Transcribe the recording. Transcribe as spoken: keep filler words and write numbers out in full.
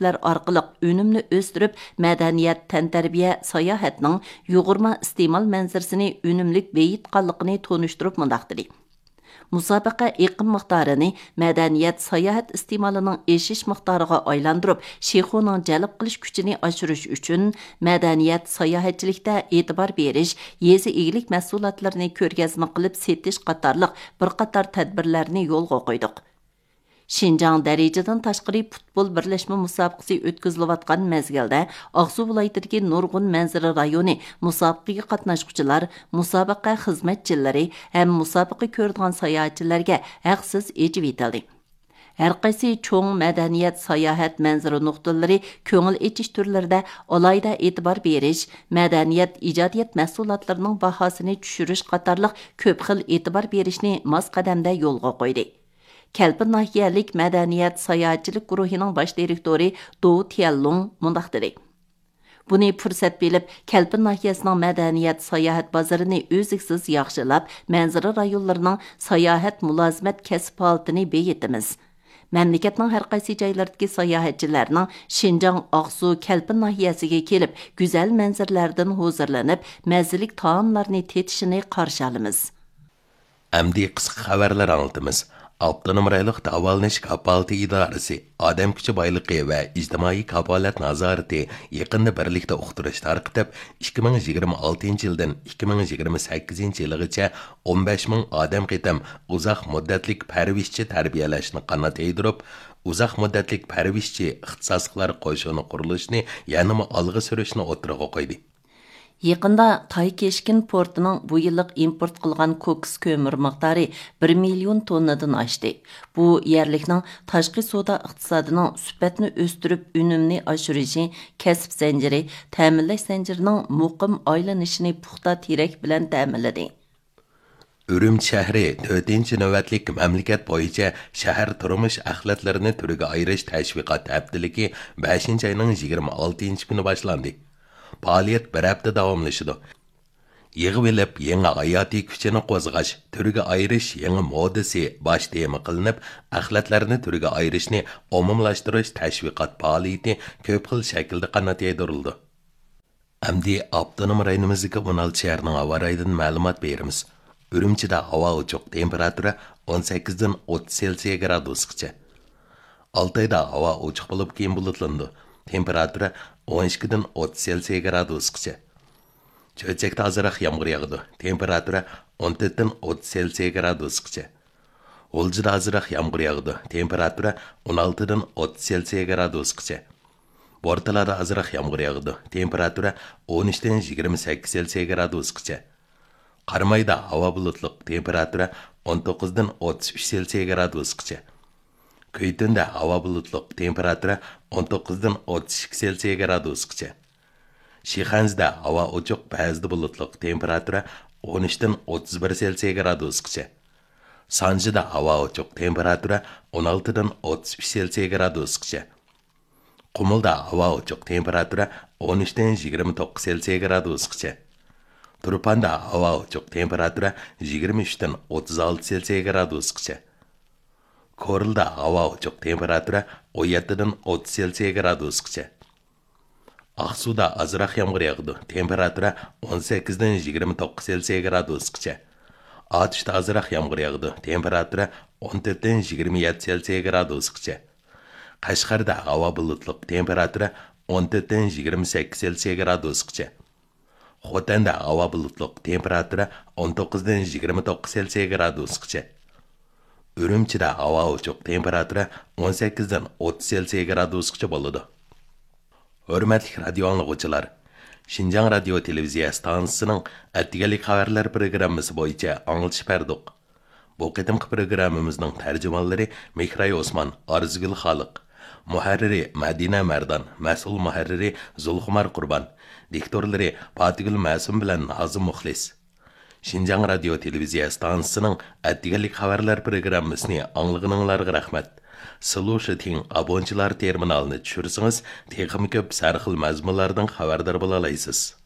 ئارقىلىق ئۈنۈمنى ئۆستۈرۈپ، مەدەنىيەت، تەنتەربىيە، ساياھەتنىڭ يۇغۇرما ئىستېمال مەنزىرىسىنى ئۈنۈملۈك بېيىتقانلىقىنى تونۇشتۇرۇپ مۇنداق دېدى: مۇسابىقە ئېقىم مىقدارىنى مەدەنىيەت، ساياھەت ئىستېمالىنىڭ ئېشىش مىقدارىغا ئايلاندۇرۇپ، شىخۇنىڭ جەلپ قىلىش كۈچىنى ئاشۇرۇش ئۈچۈن، مەدەنىيەت، ساياھەتچىلىكتە ئېتىبار بېرىش، يېزا ئىگىلىك مەھسۇلاتلىرىنى كۆرگەزمە قىلىپ سېتىش قاتارلىق بىر قاتار تەدبىرلەرنى يولغا قويدۇق. شىنجاڭ دەرىجىدىن تاشقىرى پۇتبول بىرلەشمە مۇسابىقىسى ئۆتكۈزۈلۈۋاتقان مەزگىلدە، ئاقسۇ ۋىلايىتىدىكى نۇرغۇن مەنزىرە رايونى مۇسابىقىگە قاتناشقۇچىلار، مۇسابىقە خىزمەتچىلىرى ھەم مۇسابىقە كۆرىدىغان ساياھەتچىلەرگە ھەقسىز ئېچىۋېتىلدى. ھەرقايسى چوڭ مەدەنىيەت، ساياھەت، مەنزىرە نۇقتىلىرى كۆڭۈل ئېچىش تۈرلىرىدە ئالاھىدە ئېتىبار بېرىش، مەدەنىيەت، ئىجادىيەت مەھسۇلاتلىرىنىڭ باھاسىنى چۈشۈرۈش قاتارلىق كۆپ خىل ئېتىبار بېرىشنى ماس قەدەمدە يولغا قويدى. كەلپىن ناھىيەلىك مەدەنىيەت ساياھەتچىلىك گۇرۇھىنىڭ باش دىرېكتورى دو تيەنلۇڭ مۇنداق دېدى: بۇنى پۇرسەت بىلىپ، كەلپىن ناھىيەسىنىڭ مەدەنىيەت ساياھەت بازىرىنى ئۈزلۈكسىز ياخشىلاپ، مەنزىرە رايونلىرىنىڭ ساياھەت مۇلازىمەت كەسىپ ھالىتىنى بېيىتىمىز. مەملىكەتنىڭ ھەرقايسى جايلىرىدىكى ساياھەتچىلەرنىڭ شىنجاڭ ئاقسۇ كەلپىن ناھىيەسىگە كېلىپ، گۈزەل مەنزىرىلەردىن ھۇزۇرلىنىپ، مەززىلىك تائاملارنى تېتىشىنى قارشى ئالىمىز. ئەمدى قىسقا خەۋەرلەر ئاڭلىتىمىز. ئاپتونوم رايونلۇق داۋالىنىش كاپالىتى ئىدارىسى ئادەم كۈچى بايلىقى ۋە ئىجتىمائىي كاپالەت نازارىتى يېقىندا بىرلىكتە ئۇقتۇرۇش تارقىتىپ، ئىككى مىڭ يىگىرمە ئالتىنچى يىلدىن ئىككى مىڭ يىگىرمە سەككىزىنچى يىلغىچە ئون بەش مىڭ ئادەم قېتىم ئۇزاق مۇددەتلىك پەرۋىشچى تەربىيەلەشنى قانات يايدۇرۇپ، ئۇزاق مۇددەتلىك پەرۋىشچى ئىختىساسلىقلار قوشۇنى قۇرۇلۇشىنى يەنىمۇ ئالغا سۈرۈشنى ئوتتۇرىغا قويدى. يېقىندا تاي كېشكىن پورتىنىڭ بۇ يىللىق ئىمپورت قىلغان كوكس كۆمۈر مىقدارى بىر مىليون توننىدىن ئاشتى. بۇ يەرلىكنىڭ تاشقى سودا ئىقتىسادىنىڭ سۈپەتنى ئۆستۈرۈپ، ئۈنۈمنى ئاشۇرۇشى، كەسىپ زەنجىرى، تەمىنلەش زەنجىرىنىڭ مۇقىم ئايلىنىشىنى پۇختا تىرەك بىلەن تەمىنلىدى. ئۈرۈمچى شەھىرى تۆتىنچى نۆۋەتلىك مەملىكەت بويىچە شەھەر تۇرمۇش ئەخلەتلىرىنى تۈرگە ئايرىش تەشۋىقات ھەپتىلىكى بەشىنچى ئاينىڭ يىگىرمە ئالتىنچى كۈنى باشلاندى. پائالىيەت بىر ھەپتە داۋاملىشىدۇ. يىغىۋېلىپ، يېڭى ھاياتىي كۈچىنى قوزغاش، تۈرگە ئايرىش يېڭى مودىسى باش تېما قىلىنىپ، ئەخلەتلەرنى تۈرگە ئايرىشنى ئومۇملاشتۇرۇش تەشۋىقات پائالىيىتى كۆپ خىل شەكىلدە قانات يايدۇرۇلىدۇ. ئەمدى ئاپتونوم رايونىمىزدىكى ئون ئالتە شەھەرنىڭ ھاۋا رايىدىن مەلۇمات بېرىمىز. ئۈرۈمچىدە ھاۋا ئوچۇق، تېمپېراتۇرا ئون سەككىزدىن ئوتتۇز سېلسىيە گرادۇسقىچە. ئالتايدا ھاۋا ئوچۇق بولۇپ، كېيىن بۇلۇتلىنىدۇ. تېمپېراتۇرا ئون ئىككىدىن ئوتتۇز سېلسىيە گرادۇسقىچە. چۆچەكتە ئازراق يامغۇر ياغىدۇ. تېمپېراتۇرا ئون تۆتتىن ئوتتۇز سېلسىيە گرادۇسقىچە. غۇلجىدا ئازراق يامغۇر ياغىدۇ. تېمپېراتۇرا ئون ئالتىدىن ئوتتۇز سېلسىيە گرادۇسقىچە. بورتالادا ئازراق يامغۇر ياغىدۇ. تېمپېراتۇرا ئون ئۈچتىن يىگىرمە سەككىز سېلسىيە گرادۇسقىچە. قارامايدا ھاۋا بۇلۇتلۇق، تېمپېراتۇرا ئون توققۇزدىن ئوتتۇز ئۈچ سېلسىيە گرادۇسقىچە. كۈيتۈندە ھاۋا بۇلۇتلۇق، تېمپېراتۇرا ئون توققۇزدىن ئوتتۇز ئىككى سېلسىيە گرادۇسقىچە. شىخەنزىدە ھاۋا ئوچۇق، بەزىدە بۇلۇتلۇق، تېمپېراتۇرا ئون ئۈچتىن ئوتتۇز بىر سېلسىيە گرادۇسقىچە. سانجىدا ھاۋا ئوچۇق، تېمپېراتۇرا ئون ئالتىدىن ئوتتۇز ئۈچ سېلسىيە گرادۇسقىچە. قۇمۇلدا ھاۋا ئوچۇق، تېمپېراتۇرا ئون ئۈچتىن يىگىرمە توققۇز سېلسىيە گرادۇسقىچە. تۇرپاندا ھاۋا ئوچۇق، تېمپېراتۇرا يىگىرمە ئۈچتىن ئوتتۇز ئالتە سېلسىيە گرادۇسقىچە. كورلىدا ھاۋا ئوچۇق، تېمپېراتۇرا ئون يەتتىدىن ئوتتۇز سېلسىيە گرادۇسقىچە. ئاقسۇدا ئازراق يامغۇر ياغىدۇ، تېمپېراتۇرا ئون سەككىزدىن يىگىرمە توققۇز سېلسىيە گرادۇسقىچە. ئاتۇشتا ئازراق يامغۇر ياغىدۇ، تېمپېراتۇرا ئون تۆتتىن يىگىرمە يەتتە سېلسىيە گرادۇسقىچە. قەشقەردە ھاۋا بۇلۇتلۇق، تېمپېراتۇرا ئون تۆتتىن يىگىرمە سەككىز سېلسىيە گرادۇسقىچە. خوتەندە ھاۋا بۇلۇتلۇق، تېمپېراتۇرا ئون توققۇزدىن يىگىرمە توققۇز سېلسىيە گرادۇسقىچە. ئۈرۈمچىدە ھاۋا ئوچۇق، تېمپېراتۇرا ئون سەككىزدىن ئوتتۇز سېلسىيە گرادۇسقىچە بولىدۇ. ھۆرمەتلىك رادىيو ئاڭلىغۇچىلار، شىنجاڭ رادىيو تېلېۋىزىيە ئىستانسىسىنىڭ ئەتىگەنلىك خەۋەرلەر پروگراممىسى بويىچە ئاڭلىتىش بەردۇق. بۇ قېتىمقى پروگراممىمىزنىڭ تەرجىمانلىرى مېھراي ئوسمان، ئارزۇگۈل خالىق، مۇھەررىرى مەدىنە مەردان، مەسئۇل مۇھەررىرى زۇلخۇمار قۇربان، دىكتورلىرى پاتىگۈل مەسۇم بىلەن نازىم مۇخلىس. شىنجاڭ رادىيو تېلېۋىزىيە ئىستانسىسىنىڭ ئەتىگەنلىك خەۋەرلەر پروگراممىسىنى ئاڭلىغىنىڭلارغا رەھمەت. سىلۇشىتىڭ ئابونچىلار تېرمىنالىنى چۈشۈرسىڭىز، تېخىمۇ كۆپ سەرخىل مەزمۇنلاردىن خەۋەردار بولالايسىز.